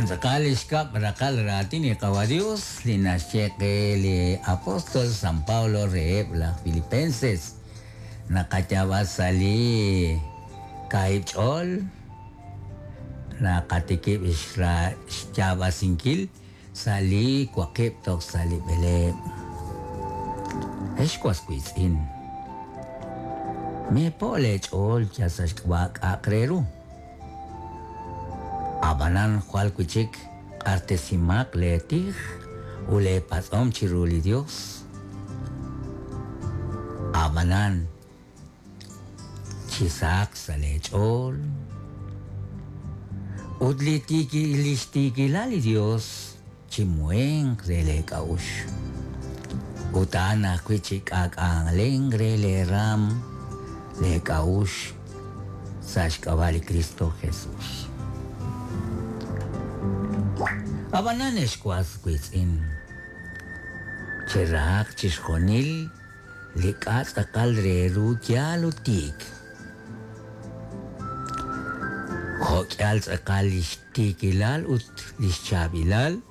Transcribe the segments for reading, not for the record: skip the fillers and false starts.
Wan tz'aqal li xkab' raqal raatin li Qawa' Dios li naxye qe li apóstol San Pablo reheb' laj Filipenses. Naqayaab'a sa' li kaahib' ch'ool, naqatikib' xyaab'asinkil sa' li waqib' toj sa' li b'eleeb'. Ex was wiitz'in, meepo' leech'ool yal sa' xk'ab'a' k'a'aq re ru. Ab'anan jwal wi' chik q'axtesimaq leetij ut leepatz'om chiru li Yos. Ab'anan chisahaq sa' leech'ool ut li xtiikilal li Yos chimuhenq re leek'a'uxl. Ut a'an ajwi' chik'aak'alenq re leeraanm leek'a'uxl sa' xk'ab'a' li Kristo Jesús. Ab'anan ex was wiitz'in, cherahaq chixjunil li k'a' tz'aqal re ru yaal ut tiik. Jo' k'ihal tz'aqal li xtiikilal ut li xchaab'ilal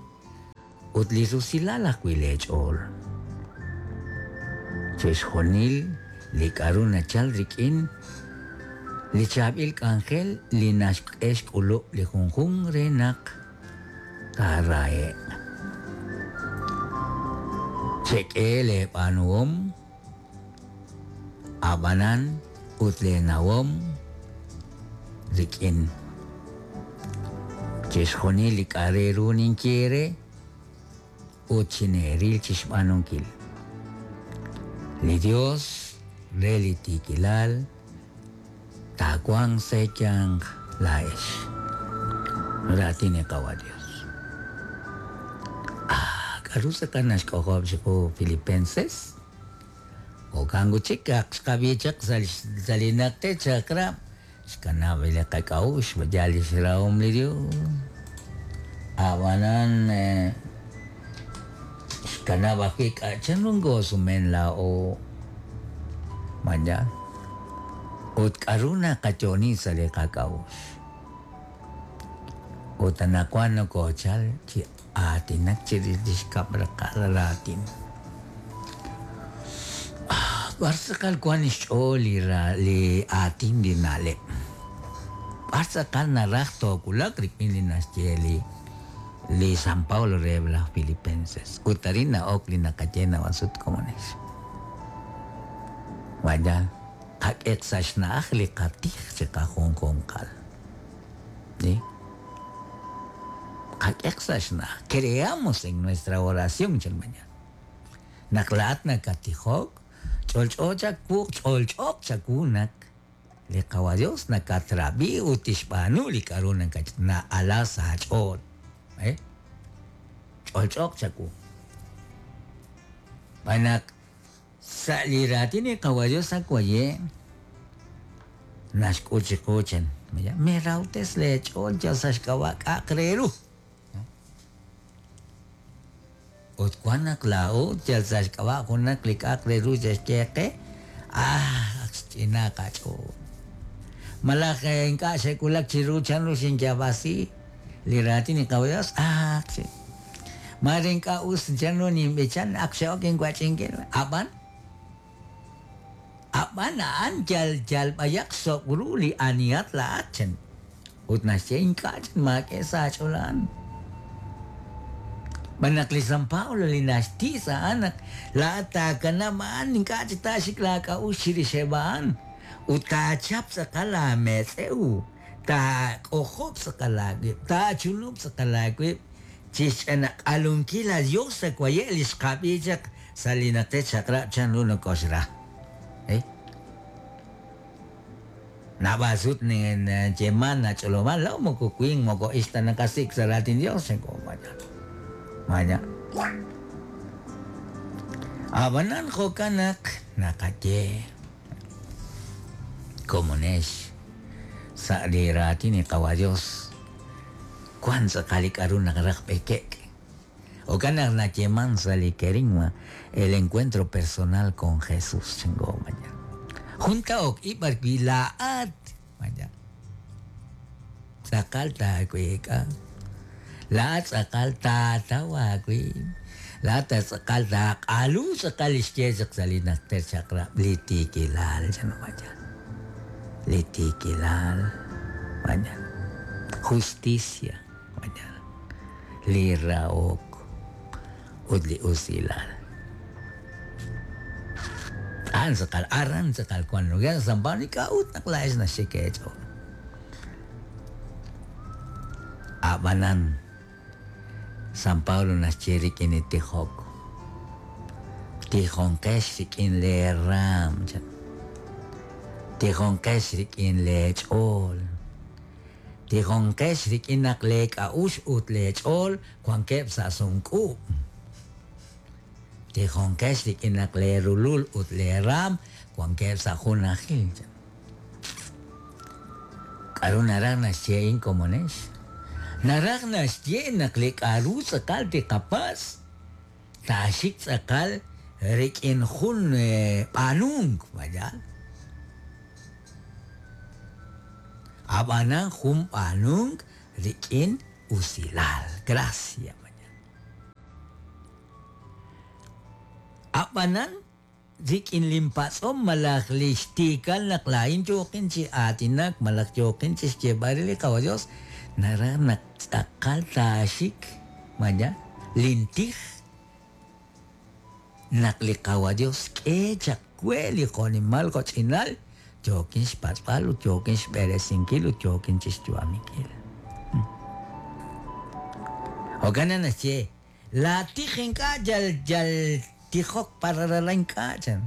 ut li rusilal ajwi' leech'ool. Chixjunil li k'aru nachal rik'in li chaab'il k'anjel li naxk'e xk'ulub' li junjunq re naq taarahe'q. Chek'e leeb'aanuhom A'b'anan ut leenawom rik'in chixjunil li k'a' re ru ninye eere ut chineeril chixb'aanunkil. Li Dios re li tiikilal taawanq sa' eeyanq laa'ex. Raatin li Qawa' Dios. Ah, k'a'ru tz'aqal naxk'ojob' chiqu Filipenses? Jo'kan ut chik, ak xqab'i chaq sa' li najter chaq'rab', xkanab' li qak'a'uxl yal lix rahom li Dios. A'b'anan, xkanab' ajwi' k'a' chanru nkosumen laa'o ma yaal? Ut k'a'ru naqayo'oni sa' li qak'a'uxl? Ut anaqwan nokochal chi aatinak chirix li xkab' raqal raatin. B'ar tz'aqal wank xch'ool li li aatin li na'leb'? B'ar tz'aqal naraj toowulaq rik'in li naxye li li San Pablo reheb' laj Filipenses? Ut arin na'ok li naqaye naab'al sut komonex. Ma yaal, qak'eq sa' xna'aj li qatij chiqajunjunqal. Qak'eq sa' xna'aj. Creamos en nuestra oración chan mañana. Naq laa'at nakattijok, ch'olch'o chawu, ch'olch'ooq chawu naq li Qawa' Dios nakatrab'i ut tixb'aanu li k'a'ru na'ala sa' aach'ool. Ch'olch'ooq chawu. Xb'aan naq Sa' li raatin li Qawa' Dios ak waye' naxk'ut chiqu chan, Merahob'tes leech'ool yal sa' xk'ab'a' k'a'aq re ru. Ut wan naq laa'o yal sa' xk'ab'a' junaq li k'a'aq re ru xe'xye qe, ah, ak xch'inaak qach'ool. Malaj ink'a' xe'wulak chiru chanru xinyaab'asi li raatin li Qawa' Dios, ah, Maare ink'a' us chanru ninb'ichan, ak xe'ok inwach'inkil. Ab'an, ab'an a'an yal yal b'ayaq xsob' ru li anihat laa'at, chan. Ut naxye, Ink'a' chan, maak'e sa' aach'ool a'an. Xb'aan naq li San Pablo li naxtiis a'an naq laa'at taakanab' a'an, ink'a' chik taaxik laak'a'uxl chirixeb' a'an, ut taachap tz'aqal aametz'ew, taak'ojob' tz'aqal aawib', taachunub' tz'aqal aawib' Chixch'anaq'alunkil a Dios sa' waye' li xqab'i chaq sa' li Najter Chaq'rab' chanru nokoxra. Naab'al sut nayeeman nach'olob'an laa'o moko winq moko ixq ta naqasik' sa' raatin Dios chanko maña. Ab'anan jo'kan naq naqaye komonex sa' li raatin li Qawa' Dios Wank tz'aqal li k'a'ru naqaraj b'eke'k. Jo'kan naq nayeeman sa' li kerigma El encuentro personal con Jesús chingo maya. Jun ta'ok ib' b'ar wi' laa'at maya. Tz'aqal taaweek'a. Laa'at tz'aqal taataw aawib'. Laa'at tz'aqal taaq'alu tz'aqal li xye chaq sa' li najter chaq'rab' li tiikilal chan mañana. Li tiikilal mañana. Justicia mañana. Li rahok ut li usilal. A'an tz'aqal, aran tz'aqal wan lugar San Pablo k'a'ut naq laa'ex naxik eech'ool. A'b'anan San Pablo naxye rik'in li tijok. Tijonqex rik'in lee raam chan. Tijonqex rik'in lee ch'ool. Tijonqex rik'in naq lee k'a'uxl ut lee ch'ool wankeb' sa' sumk'uub'. Tijonqex rik'in naq lee rulul ut lee raam wankeb' sa' junajil chan. K'a'ru naraj naxye a'in komonex? Naraj naxye naq li k'a'ru tz'aqal tiqapatz' taaxik tz'aqal rik'in jun b'aanunk, mayal. Ab'anan jun b'aanunk rik'in usilal, gracia, mayal. Ab'anan rik'in linpatz'om malaj li xtiikal naq laa'in yooqin chi aatinak malaj yooqin chi xyeeb'al re li Qawa' Dios, naraj naq tz'aqal taaxik maya lintij naq li Qawa' Dios k'e chaq we li jo'nimal jo'ch'inal yookin xpatz'b'al ut yookin xb'eresinkil ut yookin chi xyu'aminkil. Jo'kan naq naxye Laatij ink'a' yal yal tijok pararara ink'a' chan.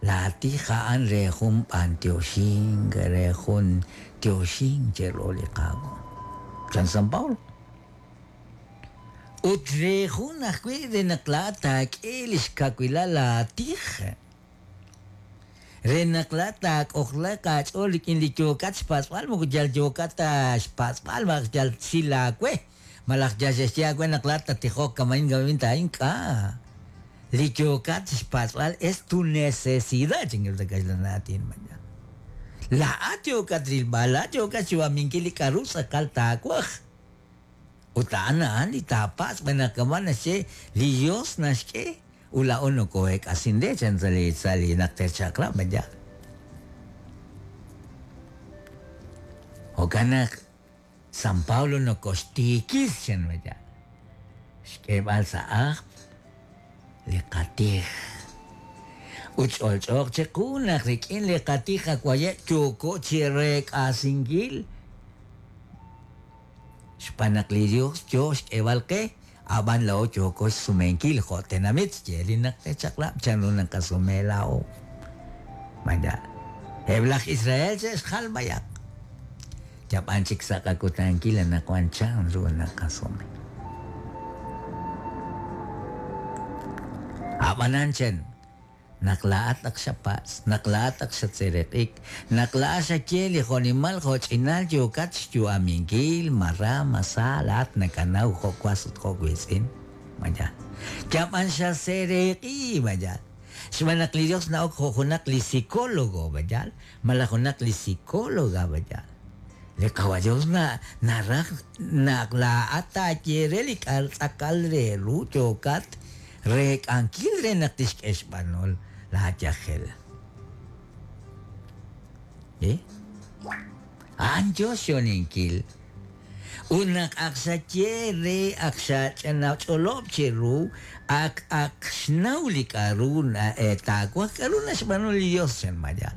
Laatij a'an re jun b'antioxink, re jun tioxink chiru li Qaawa', chan San Pablo. Ut re jun ajwi' re naq laa'at taak'e lix kawilal laatij, re naq laa'at taak'ojlaaq aach'ool rik'in li yookat xpatz'b'al, moko yal yookat ta xpatz'b'al malaj yal sil aawe. Malaj yal xe'xye aawe naq laa'at tattijoq kama'in kama'in ta ink'a'. Li yookat xpatz'b'al es tu necesidad chinkil sa' kaxlan aatin mañana. Laa'at yookat rilb'al, laa'at yookat xyu'aminkil li k'a'ru tz'aqal taawaj. Ut a'an a'an li taapatz' xb'aan naq kama' naxye li Dios naxk'e ut laa'o nokoo'eek'asin re chan sa' li sa' li najter chaq'rab' mañana. Jo'kan naq San Pablo nokoxtiikis chan maya. Xk'eeb'al sa' ajl li qatij. Ut ch'olch'ooq chiqu naq rik'in li qatij qawaye' yooko chi reek'asinkil xb'aan naq li Dios yoo xk'eeb'al qe, a'b'an laa'o yooko xsumenkil jo' tenamit xye li najter chaq'rab' chanru naqasume laa'o. Maya. Eb' laj Israel xe'xjal b'ayaq. Yab'an chik sa' qakutankil anaqwan chanru naqasume. A'b'anan chen, naq laa'at ak xapatz', naq laa'at ak xatseeraq'ik, naq laa'at xaye li jo'nimal jo'ch'inal yookat xyu'aminkil, ma ra, ma sa, laa'at nakanaw jo' was ut jo' wiitz'in, maya. Yab'an xaseeraq'i, maya. Xb'aan naq li Dios na'ok jo' junaq li psicólogo, maya, malaj junaq li psicóloga, maya. Li Qawa' Dios na naraj naq laa'at taaye re li k'a'ru tz'aqal re ru yookat reek'ankil re naq tixk'e xb'anol laa yajel. Eh? A'an yoo xyo'oninkil. Ut naq ak xaye re, ak xach'olob' chiru, ak ak xnaw li k'a'ru taawaj, k'a'ru naxb'aanu li Dios chan maya.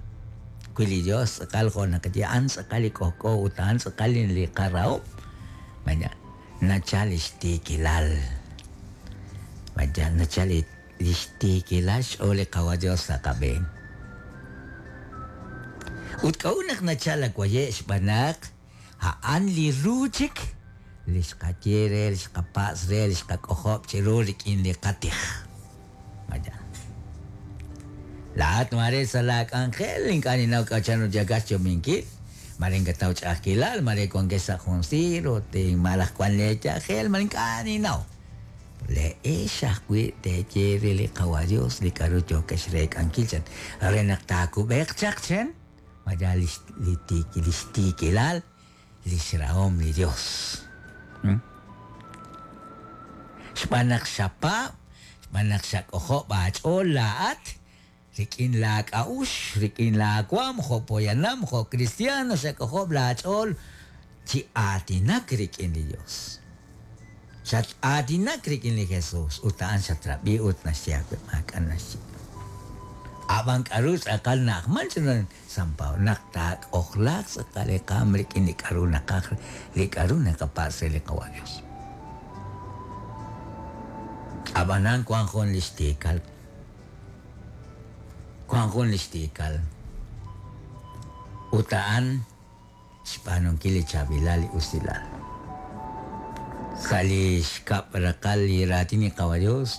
Wi li Dios tz'aqal jo' naqaye, a'an tz'aqal li k'ojk'o ut a'an tz'aqal li qarahom, maya, nachal lix tiikilal. Maya, nachal lix tiikilal xch'ool li Qawa' Dios sa' qab'een. Ut k'a'ut naq nachal awaye' xb'aan naq a'an li ru chik li xqaye re, li xqapatz' re, li xqak'ojob' chiru rik'in li qatij. Maya. Laa'at maare sa' laa k'anjel ink'a' ninnaw k'a' chanru yookat xyo'ominkil, maare ink'a' taw ch'a'ajkilal, maare wankex sa' jun siir ut malaj wan lee yajel, maare ink'a' ninnaw. Le'ex ajwi' teeye re li Qawa' Dios li k'a'ru yookex reek'ankil chan, re naq taakub'eeq chaq chan, maya li tiikilal, lix rahom li Dios. Xb'aan naq xapaab', xb'aan naq xak'ojob' aach'ool laa'at rik'in laak'a'uxl, rik'in laawaam jo' poyanam, jo' cristiano xak'ojob' laach'ool chi aatinak rik'in li Dios. Xat-aatinak rik'in li Jesus ut a'an xatrab'i ut naxye aawe maak'a' naxye. Ab'an k'aru tz'aqal na'ajman chiru San Pablo naq taak'ojlaaq tz'aqal li qaam rik'in li k'aru naqaj, li k'aru naqapatz' re li Qawa' Dios. Ab'anan wank jun li xtiikal, wank jun li xtiikal ut a'an xb'aanunkil li chaab'ilal li usilal. Sa' li xkab' raqal li raatin li Qawa' Dios,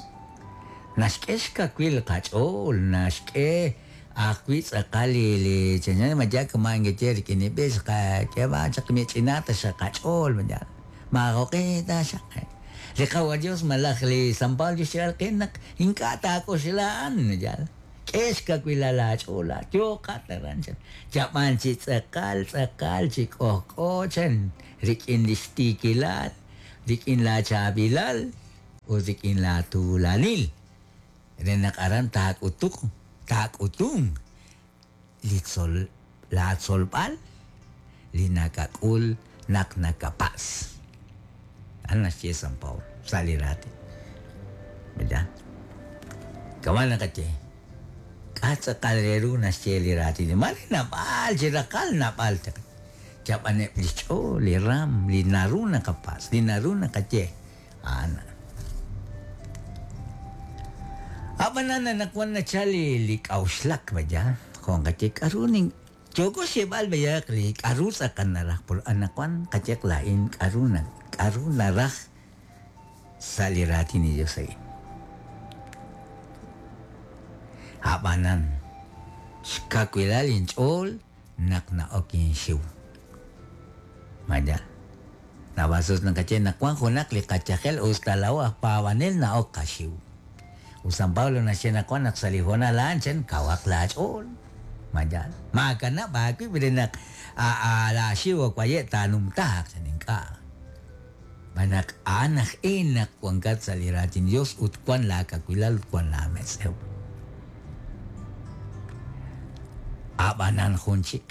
naxk'e xkawil qach'ool, naxk'e ajwi' tz'aqal li li chanchan ma yaal kama' nkeye rik'in li b'ich qak'e b'an chaq mich'inaaq taxaq qach'ool ma yaal maajoq'e taxaq. Li Qawa' Dios malaj li San Pablo xyeeb'al qe naq ink'a' taak'oxla a'an, ma yaal. K'e xkawilal laach'ool laa'at, yooqat aran chan. Chab'an chi tz'aqal tz'aqal chi k'ojk'o chan rik'in li xtiikilal, rik'in laachaab'ilal ut rik'in laatuulanil re naq aran taak'utuq taak'utunq li tzol laatzolb'al li nakak'ul naq nakapatz'. A'an naxye San Pablo sa' li raatin. ¿Verdad? Kama' naqaye, k'a' tz'aqal re ru naxye li raatin? Mare naab'al chi raqal naab'al chaq. Chab'aneb' li xch'ool, li raam, li naru naqapatz', li naru naqaye, a'an a'an. Ab'anan anaqwan nachal li li k'a'uxlak, vaya, jo' nqaye k'aru nin Yooko xyeeb'al b'ayaq li k'a'ru tz'aqal naraj pol anaqwan qayeq laa'in k'a'ru na k'a'ru naraj sa' li raatin li Dios a'in. A'b'anan, xkawilal inch'ool naq na'ok inxiw. Ma yaal? Naab'al sut naqaye naq wan junaq li qayajel us ta laa'o aj paab'anel na'ok qaxiw. Ut San Pablo naxye naq wan naq sa' li hoonal a'an chan kawaq laach'ool. Ma yaal? Maakanab' aawib' re naq laaxiw waye' taanumtaaq chan ink'a'. Xb'aan naq a'an aj e naq wankat sa' li raatin Dios ut wan laakawilal ut wan laametz'ew. A'b'anan jun chik.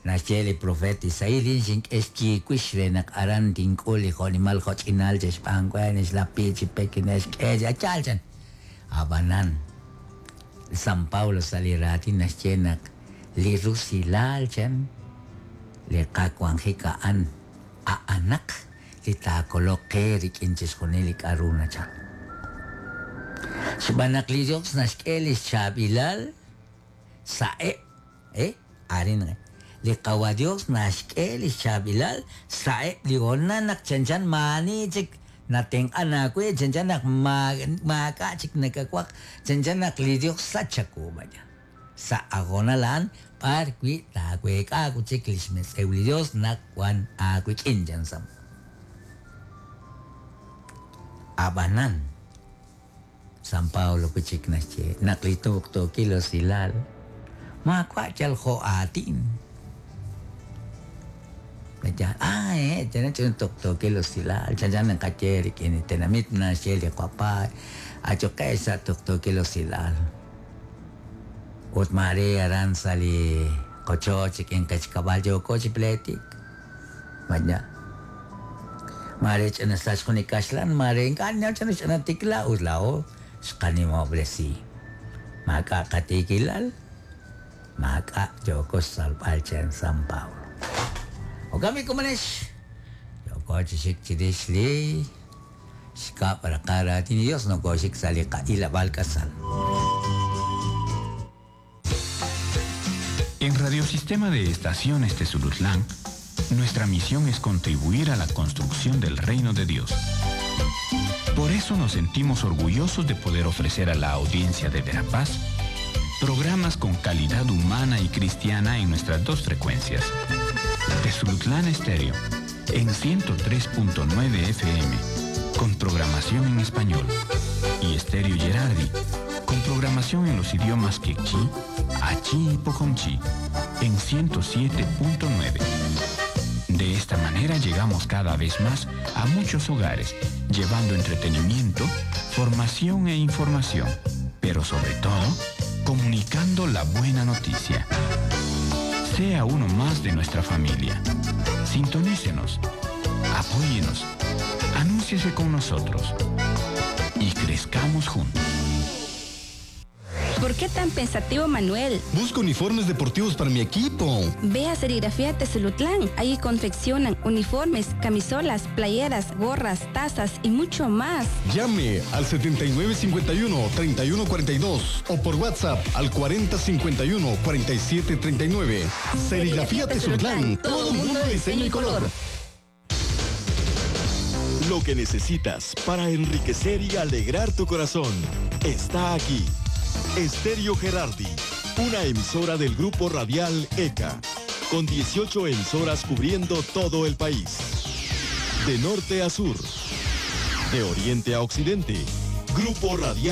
Naxye li propeet Isaías, Lin xink'e xyiiwix re naq aran tink'ul li jo'nimal jo'ch'inal che'xb'aan we, ne'xlapi chi pek ne'xk'e chi yaal chan. Ab'anan, San Pablo sa' li raatin naxye naq li rusilal chan li qawanjik a'an a'anaq li taakoloq qe rik'in chixjunil li k'a'ru nachal. Xb'aan naq li Dios naxk'e lix chaab'ilal sa'eb' E, arin re. Li Qawa' Dios naxk'e lix chaab'ilal sa'eb' li hoonal naq chanchan maa'ani chik natenq'an aawe, chanchan naq maak'a' chik nakawaj, chanchan naq li Dios sach chawu b'ayaq. Sa' a hoonal a'an b'ar wi' taaweek'a wi' chik lix metz'ew li Dios naq wan aawik'in, chan Sam. A'b'anan, San Pablo wi' chik naxye naq li tuqtuukil usilal maawa' yal jo' aatin. Nayaal, ah, eh, chanchan ch'ina tuqtuukil usilal, chanchan naqaye rik'in li tenamit naxye li qapaay, ayuqex sa' tuqtuukil usilal. Ut maare aran sa' li qochoch rik'in qechkab'al yooko chi pleetik. Maña. Maare ch'ina sach jun li kaxlan, maare ink'a' ninnaw chanru ch'ina tikla ut laa'o xqanimob'resi. Maak'a' qatiikilal, maak'a' yooko xtzolb'al chan San Pablo. Jo'kan b'i' komonex, yooko chi xik chirix li xkab' raqal raatin li Dios, nokooxik sa' li qa'ilab'aal k'asal. En Radiosistema de Estaciones Tezulutlán, nuestra misión es contribuir a la construcción del reino de Dios. Por eso nos sentimos orgullosos de poder ofrecer a la audiencia de Verapaz programas con calidad humana y cristiana en nuestras dos frecuencias. Tezulutlán Estéreo, en 103.9 FM, con programación en español, y Estéreo Gerardi, con programación en los idiomas quechí, achí y pocomchi, en 107.9. De esta manera llegamos cada vez más a muchos hogares, llevando entretenimiento, formación e información, pero sobre todo, comunicando la buena noticia. Sea uno más de nuestra familia. Sintonícenos, apóyenos, anúnciese con nosotros y crezcamos juntos. ¿Por qué tan pensativo, Manuel? Busco uniformes deportivos para mi equipo. Ve a Serigrafía Tezulutlán. Ahí confeccionan uniformes, camisolas, playeras, gorras, tazas y mucho más. Llame al 7951-3142 o por WhatsApp al 4051-4739. Serigrafía Tezulutlán. Todo mundo de diseño y color. Lo que necesitas para enriquecer y alegrar tu corazón está aquí. Estéreo Gerardi, una emisora del grupo radial ECA, con 18 emisoras cubriendo todo el país. De norte a sur, de oriente a occidente, Grupo Radial.